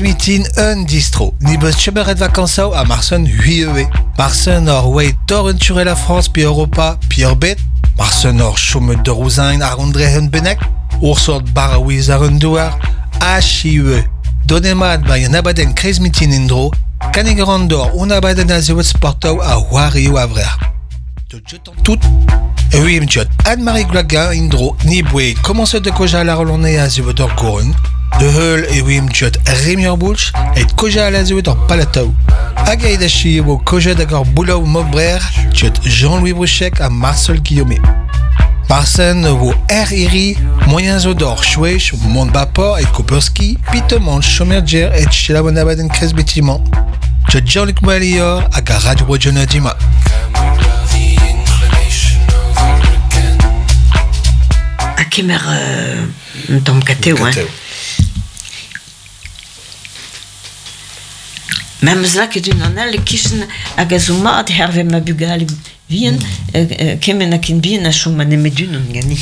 mitin un distro. Ni beus chemeret vakansaou ha marsen huieue. Marsen ur oe dor un ture la France pi Europa pi ur bet. Marsen ur chomet d'ur ouzain ar ondre un benek. Ur sort baraouiz ar un douar. Ha chiue. Donemat ba un abadenn kreiz mitin indro. Kanig an dor un abadenn a zeuet sportaou a c'hoarioù a vrer. Tout. Oui, mjot. Anne-Marie Gloaguin indro ni boe commencé de koja la rolone a zeuet ur gourun. De heul e oui mjot Rémi Boulch et koja la zeuet ur palatau. Hag aet achi eo koja da gor boulaou mobrer jot Jean-Louis Bruchec ha Marcel Guillaumet. Marsen vo er iri, moyen zo d'or chouech, mont bapor et koperski, pitemont chomerger et chelabonabaden krez betiment. Jot Jean-Luc Moelior hag a Radio Bro Dima. Ha kemer un tamm katev, hein. Ma 'm eus lakaet unan all e-kichen hag a zo mat hervez ma bugale vihan, kement ha ken bihan a chom nemet unan ganin.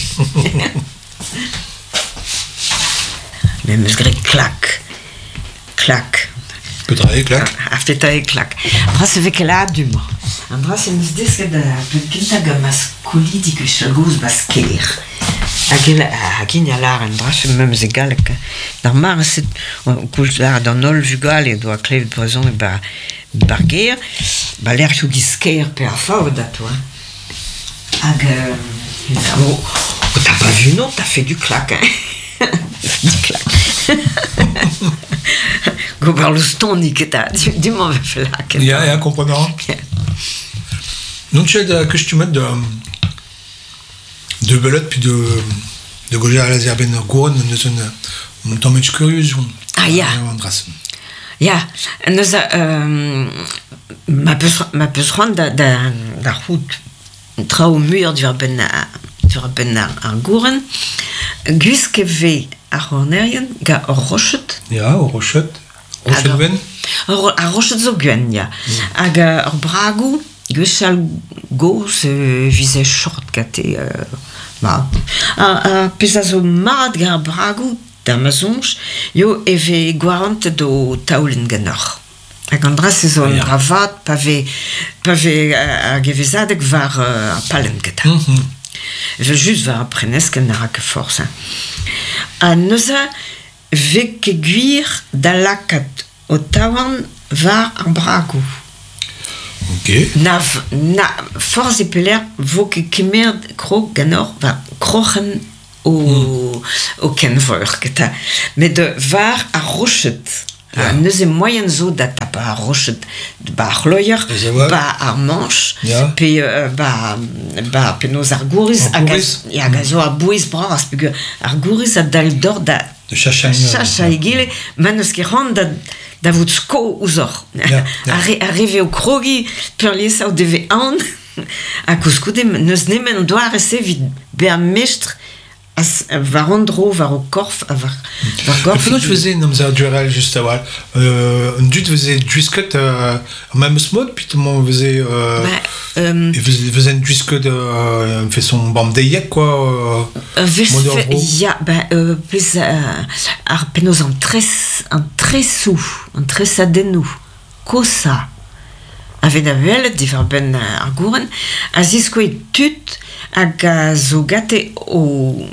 Me 'm eus graet klak. Klak. Petra eo klak? Ar petra eo klak. Dra se vez ket lâret du-mañ. An dra-se 'm eus desket da penn kentañ gant ma skolidi gwechall-gozh 'ba Skaer. Hag hag int a lâr an dra-se memes e galleg. D'ar mare-se, koulz lâret an holl vugale o doa klevet brezhoneg 'ba 'bar gêr, 'ba lec'hioù giz Skaer pe ar Faoued atao hein. Hag oh, t'as pas vu non, t'as fait du clac hein. Du clac. Gober loustoni ket ta, du-mañ 'vefe lakaet. Ya, ya, komprenant. Non ket kustumet da de belet puis de de gojer a lazer ben gouren neus un un tamm curieux Ah ya. Ya, neuze ma peus ma peus c'hoant da da da c'hoût traoù muioc'h diwar-benn diwar-benn ar gouren, gwisket 'vez ar c'hornerien gant ur roched. Ya, ur roched. Roched gwenn? Ar roched zo gwenn, ya. Hag ur bragoù, gwechall gozh e vize short gante. Mat. Ar pezh a zo mat gant ar bragoù, da ma soñj, eo e vez gwarantet ho taolenn ganeoc'h. Hag an dra-se zo un dra vat pa vez pa vez ar gevezadeg war ar pallenn gentañ. Evel-just war ar preneskenn ne ra ket forzh. Hein. Ha neuze 'vez ket gwir da lakaat ho taouarn war ar bragoù. Ok. Na, na forzh e pelec'h 'vo ket kemeret krog ganeoc'h war kroc'hen o, o kenvreur keta. Met war ar roched. Ha neuze moaien zo da tapañ ar roched ba ar c'hloier, ba ar mañch, pe ba, ba penaos ar gouriz, hag a, hag a zo a-bouez bras, peogwir ar gouriz a dal deoc'h da chachañ egile, ma n'eus ket c'hoant da da vout sko ouzhoc'h. Ar re, ar re vez o krogiñ peurliesañ o devez aon ha koulskoude n'eus nemet an doare-se evit bezañ mestr war an dro, war ho korf ha war, war gorf. Penaos veze en amzer duerel just a-walc'h? An dud veze gwisket ar memes mod, peotramant veze Bah, e vezent gwisket façon bamdeiek quoi, mod ur vro? Ya, bah, pezh ar penaos an tres, an tresoù, an tresadennoù kosañ a vez da welet diwar-benn ar gouren a ziskouez tud hag a zo gante o,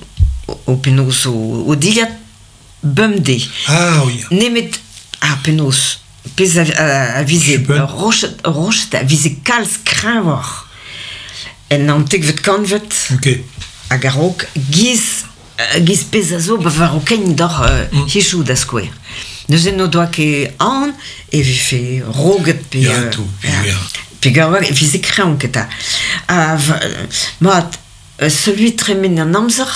o penaos o, o dilhad bemdez. Ah oui. Nemet ar penaos pezh a, a, a vize roched, roched a vize kalz kreñvoc'h en naontekvet kantved Ok. hag a-raok giz giz pezh a zo war ho kein deoc'h hiziv da skouer. Neuze n'o doa ket aon e vefe roget pe Ya, tout, ya. Peogwir e vize kreñv ket 'ta. Ha mat, seul tremen an amzer,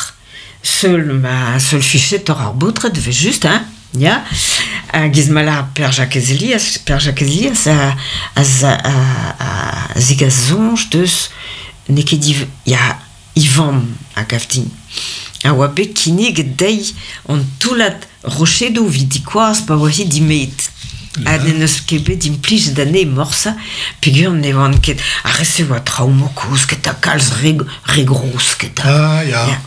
seul ma seul fichetoc'h ar baotred evel-just hein, ya. Giz ma lâr Pêr-Jakez Elias, Pêr-Jakez Elias a a a zegas soñj deus n'eo ket div ya E vamm, a gav din, a oa bet kinniget dezhi an toullad rochedoù evit dikoazh pa oa-hi dimet. Ha n'en deus ket bet implijet anezhe morse peogwir ne oant ket ar re-se oa traoù kozh ket ha kalz re, re gros ket. Ah, ya. Ya.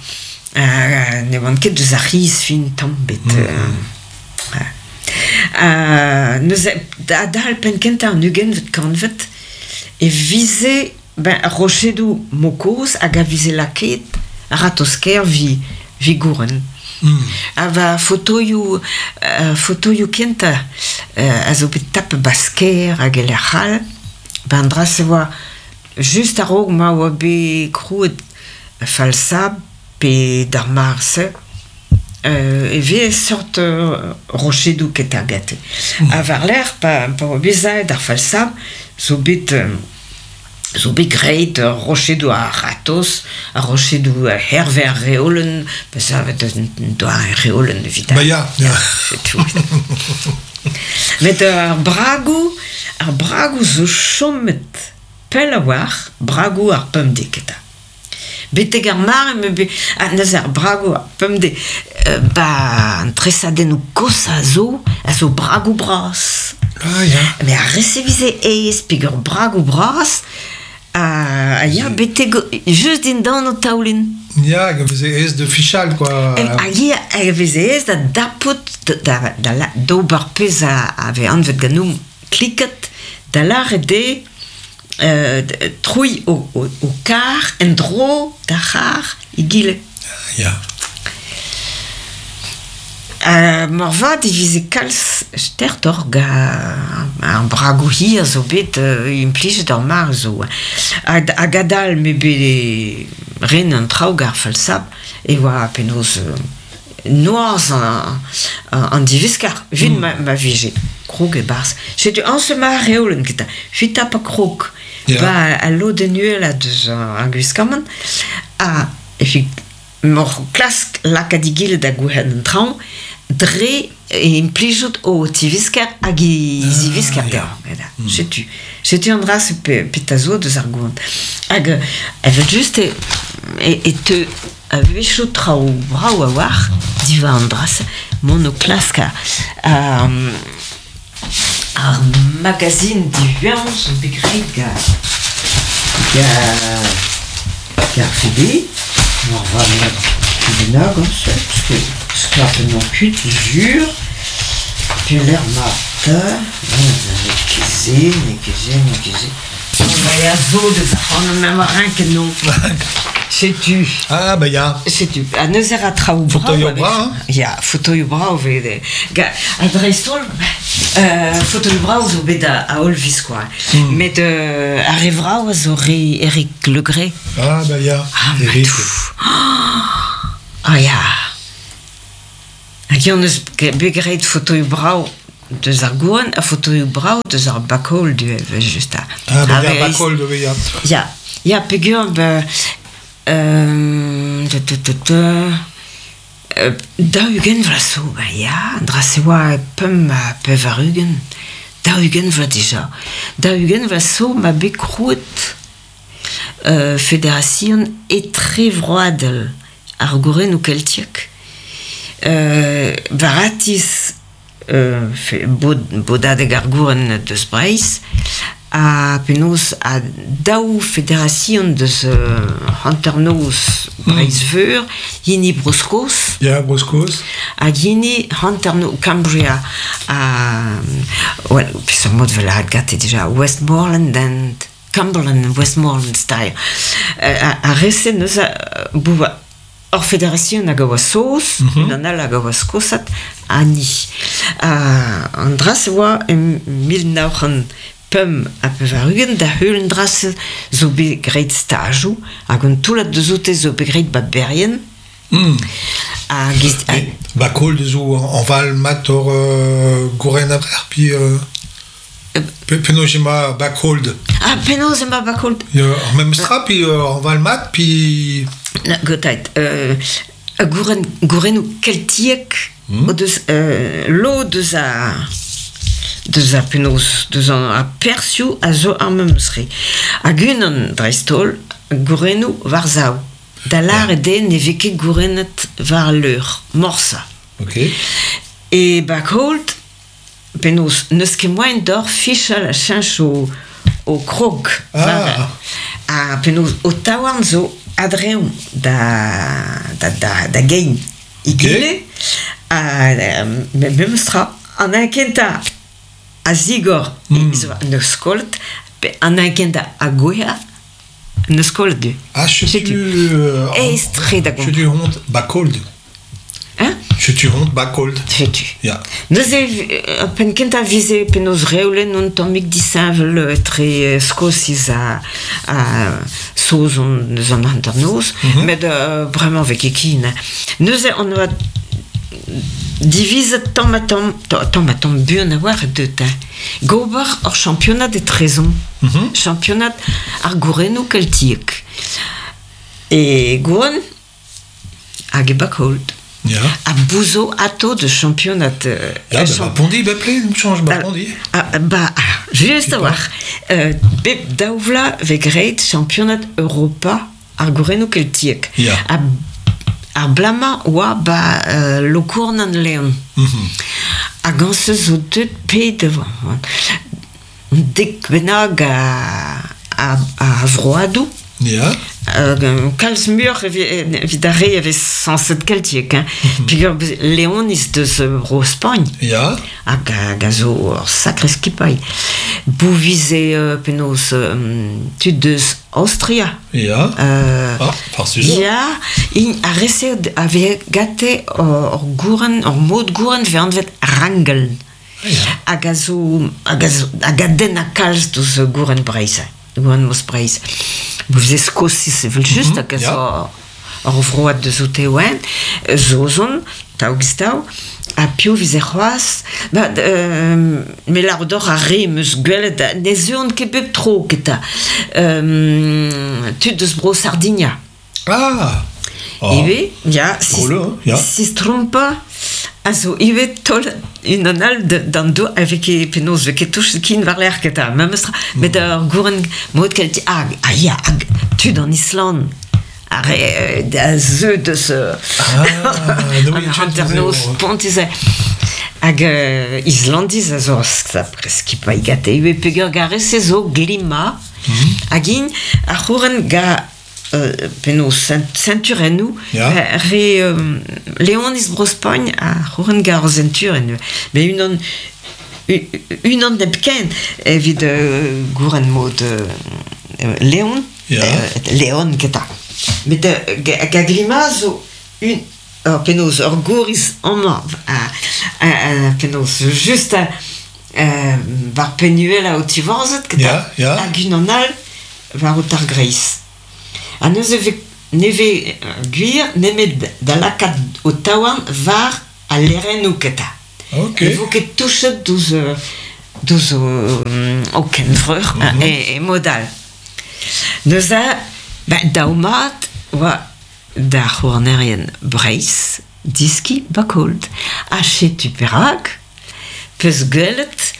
Ne oant ket deus ar c'hiz fin tamm bet. Ha neuze, adal penn-kentañ an ugentvet kantved e vize ben, rochedoù mokoz hag a vize lakaet a-ratozh-kaer vi, vi gouren. Ha va fotoioù, fotoioù kentañ a zo bet tapet 'ba Skaer hag e lec'h all, ben an dra-se oa just a-raok ma oa bet krouet Falsab pe d'ar mare-se e vez seurt rochedoù ketañ gante. Ha war-lerc'h pa oa bet savet ar Falsab zo bet zo bet graet rochedoù a-ratozh, ar rochedoù hervez ar reolenn, pa savet un doare reolenn evit Ba ya, ya. Setu. Met ar bragoù, ar bragoù zo chomet pell a-walc'h, bragoù ar pemdez eta. Betek ar mare ma bet ha neuze ar bragoù ar pemdez 'ba an tresadennoù kozhañ zo a zo bragoù bras. Ah ya. Mais ar re-se 'vize aes peger bragoù bras a ya betek just dindan o taoulin. Ya, hag a veze aes da fichal quoi. Hag ya, hag a veze aes da dapout da, da, d'ober pezh a vez anvet ganeomp kliket, da lâret eo troiñ ho karr en-dro d'ar c'harr egile. Ya. Moarvat e vize kalz stertoc'h gant ar bragoù hir zo bet implijet ar mare zo. Hag adal m'eo bet ren an traoù gant ar falsab e oa penaos noazh an diviskar evit ma vije krog e-barzh. Setu añse ma reolenn kentañ. Evit tapañ krog ba al lodenn uhelañ deus ar gwiskamant ha evit m'oc'h klask lakaat egile da gouezhañ an traoñ dre implijout ho tivisker hag e zivisker deoc'h. Setu. Setu an dra-se petra zo deus ar gouant. Hag evel-just e teu A-wechoù traoù brav a-walc'h diwar an dra-se mont o klask ar magazin diwezhañ zo bet graet gant gant Fede moarvat bennak añse parce que sklapen on kuit sur pelec'h 'ma 'ta n'eo ket se n'eo ket se n'eo ket se. Ya zo deus ac'hanomp emañ renket non. Setu. Ah, bah ya. Setu. Ha neuze ra traoù brav. Fotoioù brav, hein? Ya, fotoioù brav vez. Ha dreist-holl, fotoioù brav zo bet a holl viskoazh. Met ar re vrav a zo re Eric Legray. Ah, bah ya. Ah, Eric. Ah ya. Hag eñ neus bet graet fotoioù brav deus ar gouren ha fotoioù brav deus ar back-hall du evel-just. Ah, ben ya, back-hall du ya. Ya, ya peogwir ben 40 vloaz zo, ben ya, an dra-se oa pemp ha 80, 40 vloaz dija. 40 vloaz zo 'ma bet krouet Federasion Etrevroadel ar Gourenoù Keltiek, war atiz bodadeg ar gouren deus Breizh ha penaos ha daou federasion deus hanternoz Breizh-Veur, hini Bro-Skos Ya, Bro-Skos. hag hini hanternoz Cambria ha well, peseurt mod 'vel gante dija Westmoreland and Cumberland, Westmoreland style. Ar re-se neuze ur federasion hag a oa saoz, unan all hag a oa skosat, ha ni. An dra-se oa e 1985 da heul an dra-se zo bet graet stajoù hag un toullad deus oute zo bet graet 'ba Berrien. Hag Ba koll zo an val mat ur gouren a-vrec'h, puis penaos emañ backhold? Ah, penaos emañ backhold? Ya, ar memes tra, puis an val mat, puis... Na, gotait, gouren, gourennoù keltiek o deus lod deus a deus a penaos deus an ar perzhioù a zo ar memes re. Hag unan dreist-holl, gourennoù war-sav. Da lâret eo ne vez ket gourennet war al leur, morse. Ok. E backhold, penaos n'eus ket moaien deoc'h fichal ha cheñch ho krog. Ah. Ha penaos ho taouarn zo a-dreñv da, da, da, da gein egile. Ha memes tra. An un kentañ a zigor neus kollet, pe an un kentañ a gouezha neus kollet du. Ah, setu... Aes-tre da gomz. Setu hont bakold. Hein? Setu hont bakold. Setu. Ya. Neuze, penn kentañ vize penaos reolenn un tammig disheñvel etre Skosiz ha, ha Saozon eus an hanternoz, met bremañ 'vez ket ken. Neuze on oa divizet tamm-ha-tamm, tamm-ha-tamm buan a-walc'h deut hein, gober ur championad etrezomp, championad ar gourennoù keltiek. E Gouren hag e Backhold. Ya. Ha bouzo ato de championad... Ya, ba Pondi, bepred, chanj ba Pondi. Ah, ba, just a-walc'h. Bep daou vloaz vez graet championad Europa ar gourennoù keltiek. Ya. Ha ar blamañ oa ba Lokournan-Leon. Hag an se zo deuet pet dek bennak a, a vroadoù. Ya. Kalz muioc'h evit ar re a vez sañset keltiek. Hein. Peogwir Leoniz deus Bro-Spagn. Ya. Hag a zo ur sakre skipailh. Bouvize penaos tud deus Aostria. Ya. Ah, farsus. Ya, int ar re-se a vez gante ur gouren, ur mod gouren vez anvet Rangeln. Hag a zo hag a zo hag a denn kalz deus gouren Breizh, gouren Mos Breizh. Bouvize Skosiz evel-just hag a zo ur vroad deus oute oa-eñ, Saozon, taou-giz-taou, ha piv 'vize c'hoazh? Ba me lâr deoc'h ar re 'm eus gwelet ne zeuont ket bep tro keta. Tud deus bro Sardinia. Ah! Ivez, ya, Drôle, ya. Sistrompa a zo ivez taol unan all d'an dour a vez ket penaos vez ket touchet kin war-lerc'h keta memes tra met ur gouren mod kelti ah, ah ya hag tud an Island ar re a zeu deus an hanternoz spontus hag Islandiz a zo skipailh gante ivez peogwir garez se zo glima hag int a c'houren ga penaos senturennoù re Leoniz Bro-Spagn a c'houren ga ar senturenn met unan unan hepken evit gouren mod Leon Leon keta. Met hag a glima zo un ur penaos ur gouriz amañ penaos just war penn-uhelañ ho tivorzhed keta hag unan all war ho targreiz. Ha neuze ne vez gwir nemet da lakaat ho taouarn war al lerennoù keta. Ne vo ket touchet douzh douzh ho kenvreur e mod all. Neuze, ben, daou mat oa da c'houarnerien Breizh diskiñ Bakold. Ha setu perak peus gwelet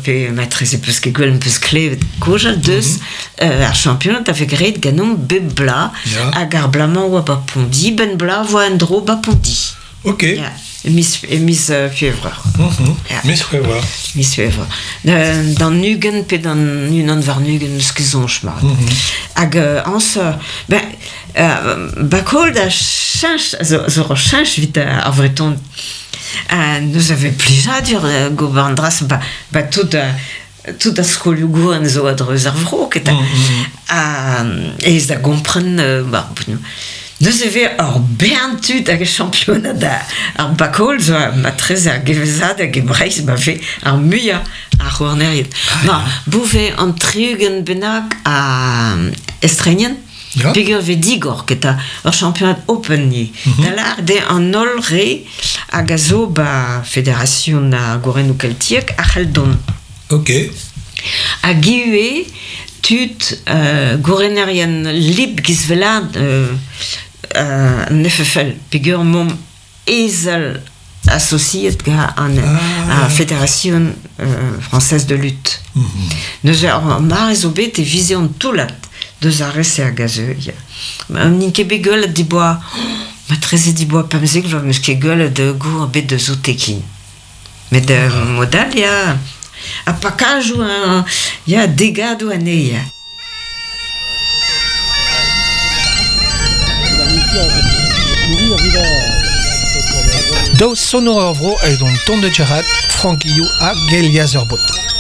pe matreze peus ket gwelet peus klevet kaojal deus ar championad a vez graet ganeomp bep bloaz hag ar bloaz-mañ oa ba Pondi, benn bloaz 'voa en-dro ba Pondi. Ok. Ya, e miz, e miz C'hwevrer. Ya. Miz C'hwevrer. Miz C'hwevrer. D'an 20 pe d'an unan warn-ugent n'eus ket soñj mat. Hag añs, ben, Bakold a cheñch, zo, zo ur cheñch evit ar Vreton. Nous avait plijadur gober an dra-se, ba, ba tout tout ar skolioù gouren zo a-dreuz ar vro, ket ha aes da gompren ba, neuze e vez ur bern tud hag championad ar bakol zo matreze ar gevezadeg e Breizh ma vez ar muiañ a c'houarnerien. Ma, bouve an 60 bennak a estrenien peogwir vez digor keta ur championad open ni. Da lâret eo an holl re hag a zo ba Federasion ar Gourennoù Keltiek a c'hell dont. Ok. Hag ivez tud gourenerien lib giz wellaat an FFL peogwir 'momp ezel associet gant an Fédération française de lutte. Neuze ar mare zo bet e vize an toullad deus ar re-se hag a zeu. Ya. N'int ket bet gwelet diboa, matreze diboa 15 vloaz, 'meus ket gwelet gour bet deus oute ken. Met mod all, ya, ha pakajoù, ya, degadoù anezhe, ya. Daou sonour ur vro aet on tont da Gerc'hat, Franck Guillou ha Geliaz ur bot.